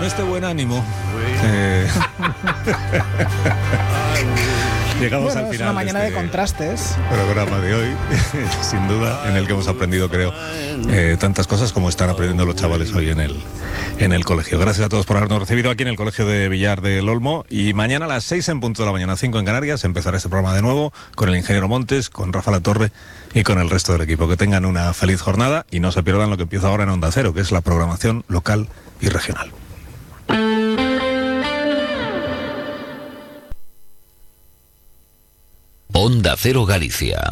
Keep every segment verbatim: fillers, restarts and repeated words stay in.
este buen ánimo, eh, llegamos bueno, al final. Es una mañana de, de este contrastes. Programa de hoy, sin duda, en el que hemos aprendido, creo, eh, tantas cosas como están aprendiendo los chavales hoy en el, en el colegio. Gracias a todos por habernos recibido aquí en el Colegio de Villar del Olmo. Y mañana a las seis en punto de la mañana, cinco en Canarias, empezará este programa de nuevo con el ingeniero Montes, con Rafa Latorre y con el resto del equipo. Que tengan una feliz jornada y no se pierdan lo que empieza ahora en Onda Cero, que es la programación local y regional. Onda Cero Galicia.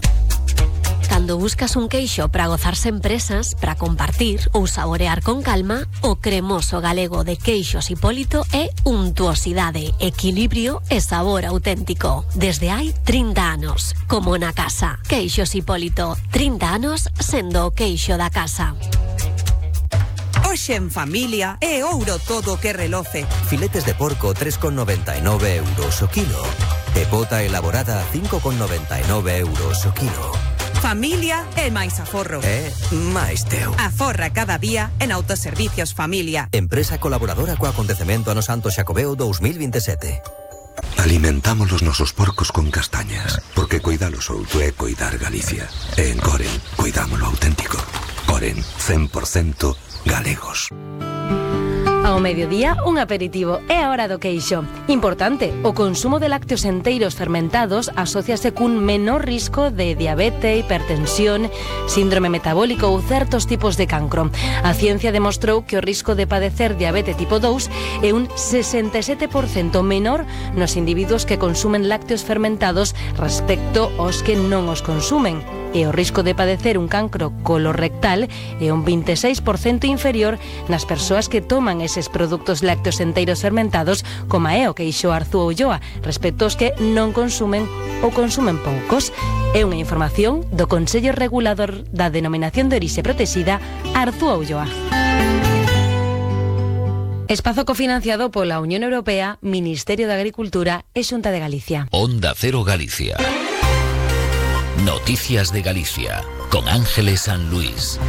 Cando buscas un queixo para gozarse en presas, para compartir ou saborear con calma, o cremoso galego de Queixos Hipólito é untuosidade, equilibrio e sabor auténtico. Desde hai trinta anos, como na casa. Queixos Hipólito, trinta anos sendo o queixo da casa. Hoxe en familia é ouro todo que reloce. Filetes de porco tres con noventa e nove euros o kilo. E bota elaborada cinco con noventa e nove euros o kilo. Familia é máis aforro. É máis teu. Aforra cada día en Autoservicios Familia. Empresa colaboradora co acontecemento ano Santo Xacobeo dos mil veintisiete. Alimentamos os nosos porcos con castañas, porque cuidalos outro é cuidar Galicia. E en Coren, cuidamos lo auténtico. Coren, cen por cento galegos. Ao mediodía, un aperitivo é a hora do queixo. Importante, o consumo de lácteos enteiros fermentados asóciase cun menor risco de diabetes, hipertensión, síndrome metabólico ou certos tipos de cancro. A ciencia demostrou que o risco de padecer diabetes tipo dous é un sesenta e sete por cento menor nos individuos que consumen lácteos fermentados respecto aos que non os consumen. E o risco de padecer un cancro colorectal é un vinte e seis por cento inferior nas persoas que toman eses produtos lácteos enteiros fermentados, como é o queixo Arzúa Ulloa, respecto aos que non consumen ou consumen poucos. É unha información do Consello Regulador da Denominación de Orixe Protexida, Arzúa Ulloa. Espazo cofinanciado pola Unión Europea, Ministerio de Agricultura e Xunta de Galicia. Onda Cero Galicia. Noticias de Galicia, con Ángeles San Luis.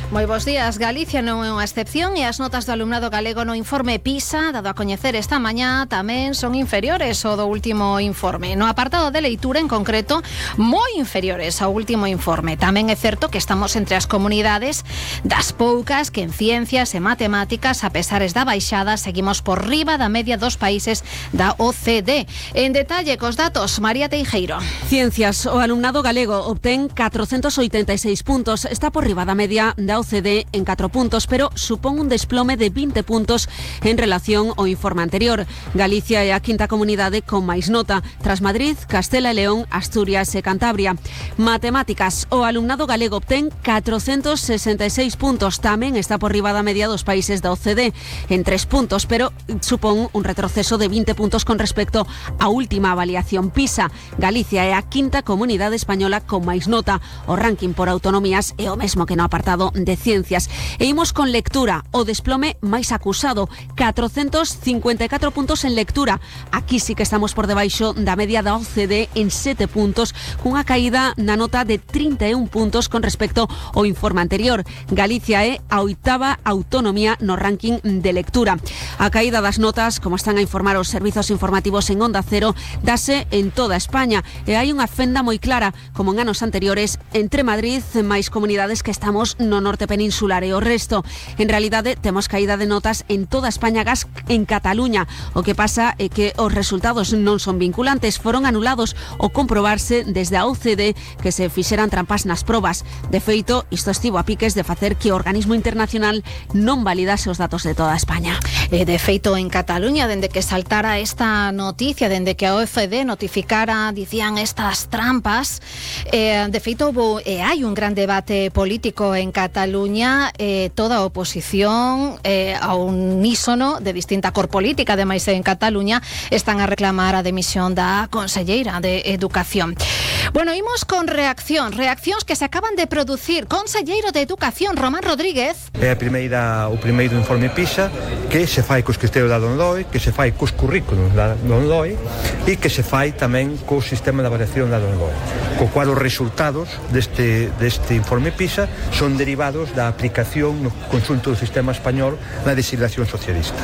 Moi bons días. Galicia non é unha excepción e as notas do alumnado galego no informe PISA, dado a coñecer esta mañá, tamén son inferiores ao do último informe. No apartado de leitura, en concreto, moi inferiores ao último informe. Tamén é certo que estamos entre as comunidades das poucas que en ciencias e matemáticas, a pesares da baixada, seguimos por riba da media dos países da O C D. En detalle cos datos, María Teijeiro. Ciencias, o alumnado galego obtén catrocentos oitenta e seis puntos, está por riba da media da O C D en catro puntos, pero supón un desplome de vinte puntos en relación ao informe anterior. Galicia é a quinta comunidade con máis nota, tras Madrid, Castela e León, Asturias e Cantabria. Matemáticas, o alumnado galego obtén catrocentos sesenta e seis puntos, tamén está por riba da media dos países da O C D en tres puntos, pero supón un retroceso de vinte puntos con respecto á última avaliación PISA. Galicia é a quinta comunidade española con máis nota. O ranking por autonomías é o mesmo que no apartado de ciencias. E imos con lectura, o desplome máis acusado, catrocentos cincuenta e catro puntos en lectura. Aquí sí que estamos por debaixo da media da O C D en sete puntos, cunha caída na nota de trinta e un puntos con respecto ao informe anterior. Galicia é a oitava autonomía no ranking de lectura. A caída das notas, como están a informar os servizos informativos en Onda Cero, dase en toda España e hai unha fenda moi clara, como en anos anteriores, entre Madrid e máis comunidades que estamos no norte peninsular e o resto. En realidade, temos caída de notas en toda España, gas en Cataluña. O que pasa é que os resultados non son vinculantes, foron anulados ao comprobarse desde a O C D que se fixeran trampas nas probas. De feito, isto estivo a piques de facer que o organismo internacional non validase os datos de toda España. E de feito, en Cataluña, dende que saltara esta noticia, dende que a O C D notificara, dicían, estas trampas, eh, de feito, houve, eh, hai un gran debate político en Cataluña. Eh, toda a oposición eh, a un unísono de distinta cor política, ademais en Cataluña, están a reclamar a demisión da conselleira de Educación. Bueno, imos con reacción, reaccións que se acaban de producir. Conselleiro de Educación, Román Rodríguez. É a primeira, o primeiro informe PISA que se fai cos criterios da LOMLOE, que se fai cos currículos da LOMLOE e que se fai tamén co sistema de avaliación da LOMLOE, co cual os resultados deste, deste informe PISA son derivados da aplicación no conxunto do sistema español na legislación socialista.